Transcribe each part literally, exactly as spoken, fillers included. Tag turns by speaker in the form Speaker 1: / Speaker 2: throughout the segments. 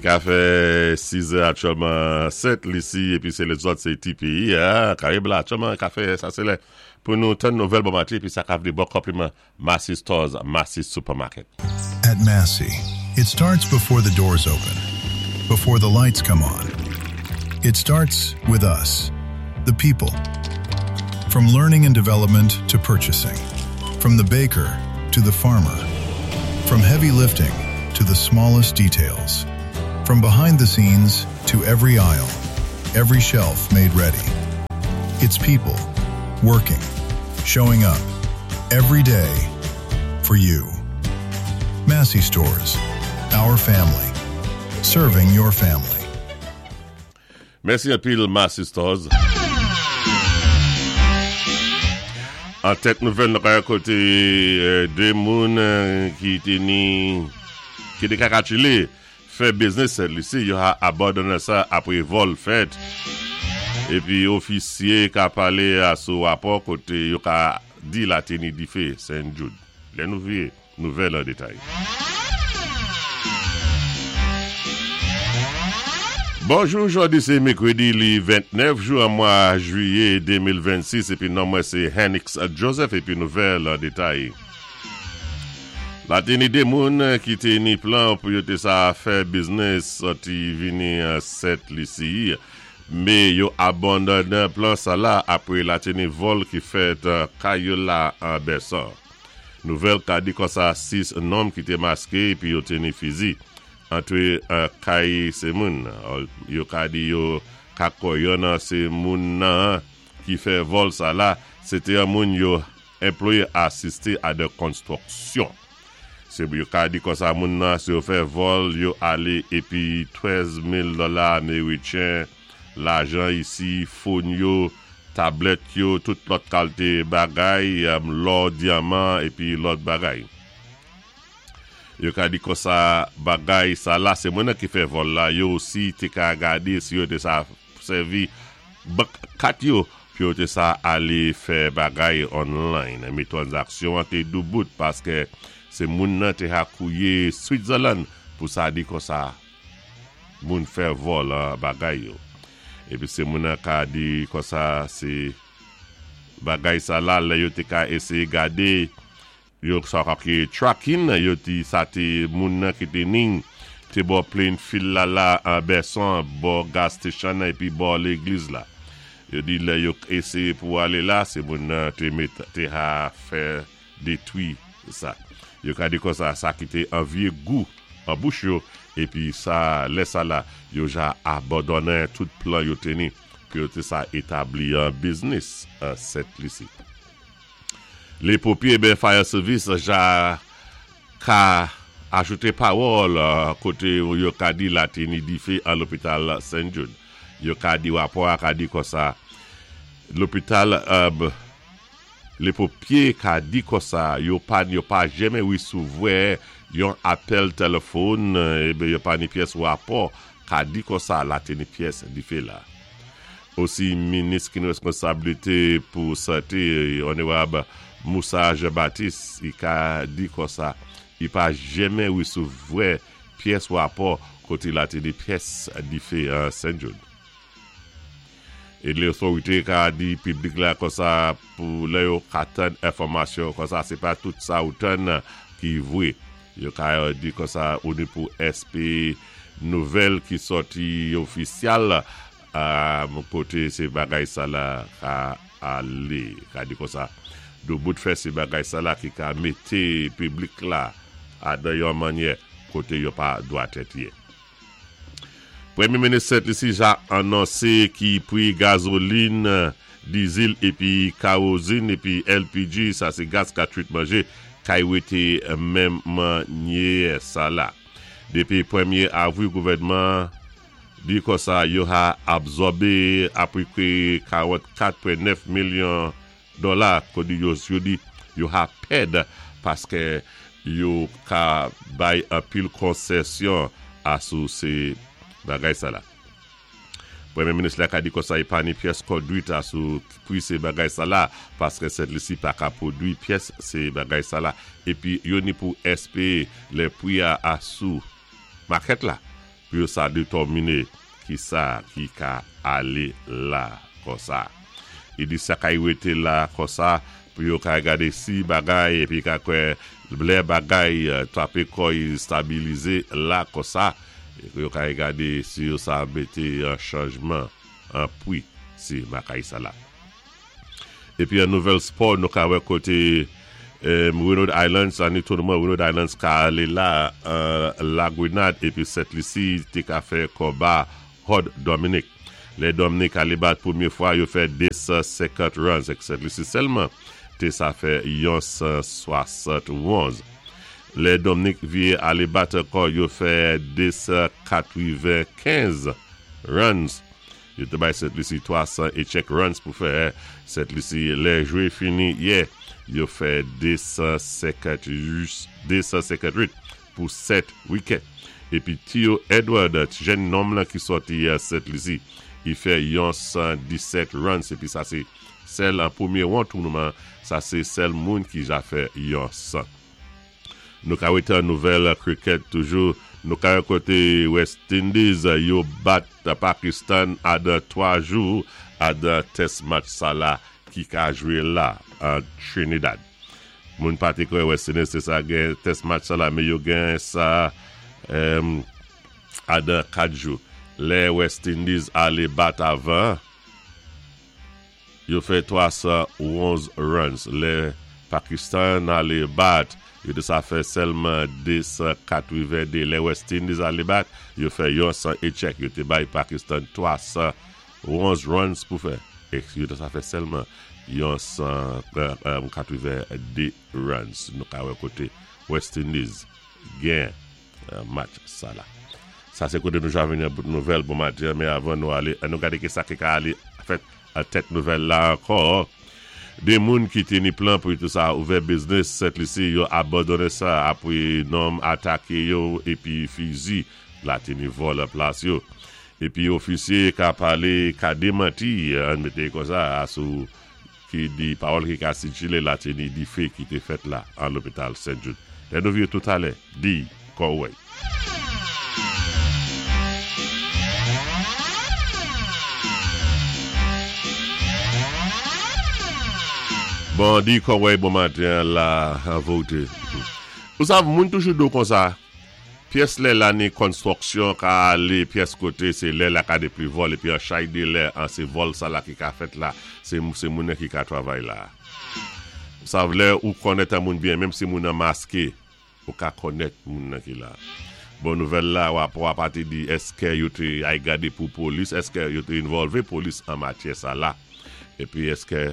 Speaker 1: Li ka fè sis è aktyèlman Sent Lisi épi sé lézòt sé ti péyi Karayib la aktyèlman ka fè sa sé lè pou nou tann nouvèl bon maten épi sa ka vlé bon konpliman Massy Stores, Massy Supermarket.
Speaker 2: At Massy, it starts before the doors open, before the lights come on. It starts with us, the people. From learning and development to purchasing, from the baker to the farmer, from heavy lifting to the smallest details, from behind the scenes to every aisle, every shelf made ready. It's people working, showing up every day for you. Massy Stores, our family, serving your family.
Speaker 1: Mèsi anpil Massy Stores. An tèt nouvèl nou ka koté dé moun ki té ni ki té ka kalkilé fè biznis Sent Lisi yo ha abandoné sa apwé vòl fèt épi ofisyé ka palé asou wapò koté yo ka di la té ni difé Saint Jude. Lè nou viwé nouvèl an détay. Bonjou, jòdi sé mèkwédi li ventnèf jou an mwa jwiyé de mil vennsis épi non mwen sé Hennix Joseph épi nouvèl an détay. La té ni dé moun ki té ni plan pou yo té sa fè biznis sòti vini Sent Lisi mé yo abandonen plan sa la apwé la té ni vòl ki fèt kay yo la an Bèsan. Nouvèl ka di konsa sis nonm ki té maské épi yo té ni fizi antré kay sé moun. Yo ka di yo ka kwè yonn nan sé moun nan ki fè vòl sa la, sé té an moun yo anplwayé asisté a dé konstwiksyon. Sé yo ka di konsa moun nan sé yo fè vòl yo alé épi trèz mil dola ameritjen, lajan isi, phone yo, tablèt yo, tout lòt kalité bagay, lò, dyaman épi lòt bagay. Yo ka di konsa bagay sa la, sé moun ki fè vòl la, yo osi té ka gadé si yo té sa sèvi bank kat yo, pi yo té sa alé fè bagay online. Mé twanzaksyon an té doubout paské sé moun nan té ha kouwé Switzerland pou sa di konsa moun fè vòl bagay yo. Épi sé moun nan ka di konsa sé bagay sa la, lè yo té ka éséyé gadé yo sa ka ki tracking, yo di sa té moun nan ki té ning té bò Plainfield la la an Bèsan, bò gas station épi bò légliz la. Yo di lè yo éséyé pou alé la, sé moun nan té met té ha fè détwi sa. Yo ka di konsa sa ki té an vyé gou an bouch yo épi sa lè sa la yo ja abandonen tout plan yo té ni pou yo té sa établi an biznis an Sent Lisi. Lé ponpyé ben fire service ja ka ajouté pawòl koté yo ka di la té ni difé an lopital Saint Jude. Yo ka di wapò a ka di konsa lopital euh, lé ponpyé ka di konsa yo pa yo pa janmen wésouvoua yon apèl téléfòn ében yo pa ni pyès wapò ka di konsa la té ni pyès difé la. Osi minis ki ni wéskonsabilité pou santé onorab Moussa Jean-Baptiste i ka di konsa i pa janmen wésouvoua pyès wapò koté la té ni pyès difé an Saint Jude. É lótorité ka di piblik la konsa pou lè yo ka tann enfòmasyon konsa sé pa tout sa ou tann ki vwé. Yo ka di konsa ou ni pou éspéwé nouvèl ki sòti ofisyal koté sé bagay sa la ka alé. Ka di konsa doubout fè sé bagay sa la ki ka mété piblik la a dan yon mannyè koté yo pa dwa tèt yé. Pwémyé minis Sent Lisi ja anonsé ki pri gazolin, dizil épi kawozin épi L P G, sa sé gaz ka twit manjé, kay wété menm mannyè sa la. Dépi pwémyé avril gouvèdman di konsa yo ha absòbé apepré karannkat pwen nèf milyon dola kòdi yo yo di yo ha pèd paské yo ka bay anpil konsésyon asou sé bagay sa la. Pwémyé minis la ka di konsa i pa ni pyès kondwit asou pri sé bagay sa la paské Sent Lisi pa ka pwodwi pyès sé bagay sa la épi yo ni pou éspéwé lè pri a asou makèt la. Pou yo sa détèminé ki sa ki ka alé la kon sa. I di sa kay wété la kon sa pou yo ka gadé si bagay épi ka kwè lè bagay twapé kò'y stabilizé la kon sa yo ka gadé si yo sa mété an chanjman an pwi si makay sa la. Épi an nouvèl spò nou ka wè koté Windward Islands, an ni tounman Windward Islands ka alé la La Grenade épi Sent Lisi té ka fè konba Hod Dominic. Lè Dominic alé bat pwémyé fwa yo fè de san senkant runs ek Sent Lisi sèlman té sa fè yon san swasant-onz. Lè Dominic vyé alé bat ankò yo fè de san katwenkenz runs. Yo té bay Sent Lisi twa san é tchèk runs pou fè Sent Lisi lè jwé fini yè. Yo fè de san senkantwit pou sèt wicket. Épi Theo Edward, jèn nonm lan ki sòti a Sent Lisi, i fè yon san disèt runs. Épi sa sé sèl an pwémyé won tounman, sa sé sèl moun ki ja fè yon san. Nou ka wété an nouvèl cricket toujou, nou ka wè koté West Indies yo bat Pakistan adan twa jou adan test match sa la ki ka jwé la an Trinidad. Moun pa té kwè West Indies sé sa gen test match sa la, mé yo gen sa adan kat jou. Lè West Indies alé bat avan, yo fè twa san onz runs. Lè Pakistan alé bat, yo té sa fè sèlman de san katwende. Lè West Indies alé bat, yo fè yon san é tchèk. Yo té bay Pakistan twa san onz runs pou fè. Yo té sa fè sèlman yon san katwende runs. Nou ka wè koté West Indies gen match sa la. Sa sé koté nou ja vini an bout nouvèl bon matin, mé avan nou alé, nou gadé ki sa ki ka alé fèt a tèt nouvèl la ankò. Dé moun ki té ni plan pou tou sa ouvè business Sent Lisi yo abandoné sa apwé nonm ataké yo épi fizi la té ni vòlè plas yo. Épi ofisyé ka palé, ka démanti, an mété kon sa, asou ki di pawòl ki ka sikilé la té ni difé ki té fèt la an lopital Saint Jude. Lè nou vyé tout alè, di kòwèy. Bon, di kòwèy bon matin la an vote. Ou sav, moun toujou do kon sa, pyès lè la ni konstwiksyon ka alé pyès koté, sé lè la ka de pli vòl, épi an chay de lè, an sé vòl sa la ki ka fèt la, sé moun ki ka travay la. Ou sav, lè ou konnèt an moun byen, menm si moun an maské, ou ka konnèt moun nan ki la. Bon nouvèl la, wap wap ati di, èské yo té ay gadé pou polis, èské yo té involvé polis an matyè sa la, épi èské,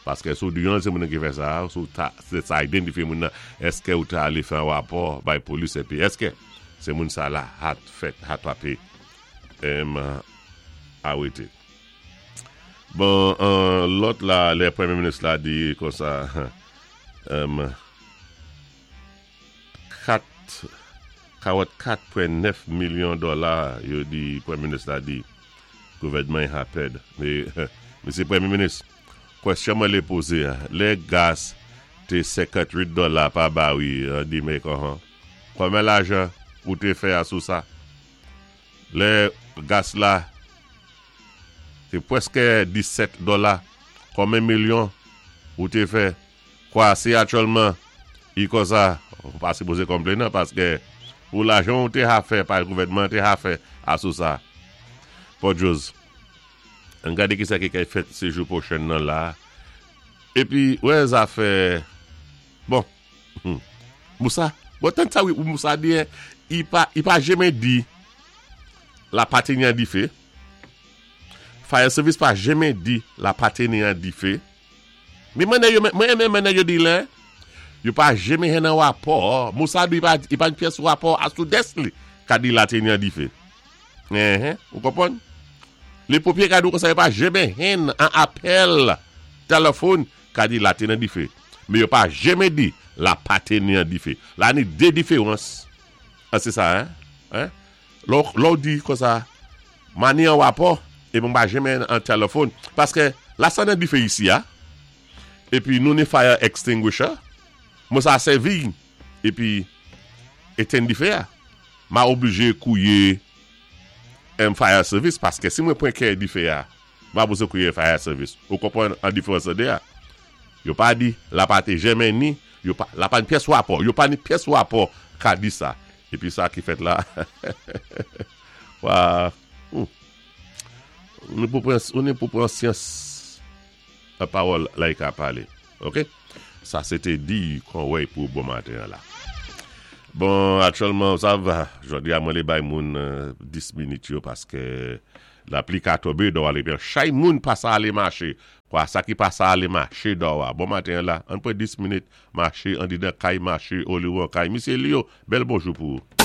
Speaker 1: paské sou di yon sé moun ki fè sa, sou ta, sé sa identifié moun nan, èské ou ta alé fè an wapò bay polis, épi èské sé moun sa la hat fèt, hat wapé, em, awété. Bon, an, lòt la, lè Pwémyé Minis la di kon sa, em, kat, kawòt kat pwen nèf milyon dola, yo di, Pwémyé Minis la di, gouvèdman ha pèd. Mé, Mesye Pwémyé Minis, kwèsyon mwen lé pozé, lè gas té senkantwit dola pa bari, di mé kon, konbyen lajan ou té fè asou sa? Lè gas la té pwèské disèt dola, konbyen milyon ou té fè? Kwa si aktyèlman, i kon sa, ou pa sipozé konplenn nan, paské ou lajan ou té ha fè, pa gouvèdman té ha fè asou sa. Podjòz, an gadé ki sa ki kay fèt sé jou pwochen nan la. Épi, wè zafè, bon, Moussa, bon tan sa ou Moussa di, i pa, i pa jenmen di la pa té ni an difé. Fire service pa jenmen di la pa té ni an difé. Mi mwen yo, mwen mwen mwen yo di lè, yo pa jenmen hen an wapò. Moussa di, i pa, i pa pyès wapò asou des li, ka di la té ni an difé. Eh, ou konpwann? Lé ponpyé ka di kon sa, yo pa jenmen hen an apèl téléfòn ka di la té nan difé. Mé yo pa jenmen di la pa té ni an difé. La ni dé diféwans. Ah, sé sa, hein? Hein? Lò, lò di kon sa, ma ni an wapò, é mwen pa jenmen an téléfòn. Paské la sa nan difé isi, ha? Épi nou ni fire extinguisher, mwen sa sèvi, épi étenn difé a. Ma oblijé kouyé M fire service, paské si mwen pwan kè difé a, m pa bezwen kwiyé fire service. Ou konpwann an diféwans dé a? Yo pa di, la pa té janmen ni, yo pa, la pa ni pyès wapò, yo pa ni pyès wapò ka di sa. Épi sa ki fèt la, wa, hmm. Nou pou pran, ou ni pou pran syans la pawòl la i ka palé. Ok? Sa sé té di kon wèy pou bon maten la. Bon, aktyèlman, sa va, jòdi a mwen lé bay moun dis minit yo paské lapli ka tonbé dò alé byen. Chay moun pa sa alé maché. Kwa sa ki pa sa alé maché dò a. Bon maten la, an pwan dis minit maché, an di dan kay maché, ou li ou an kay. Misyé Leo, bèl bonjou pou ou.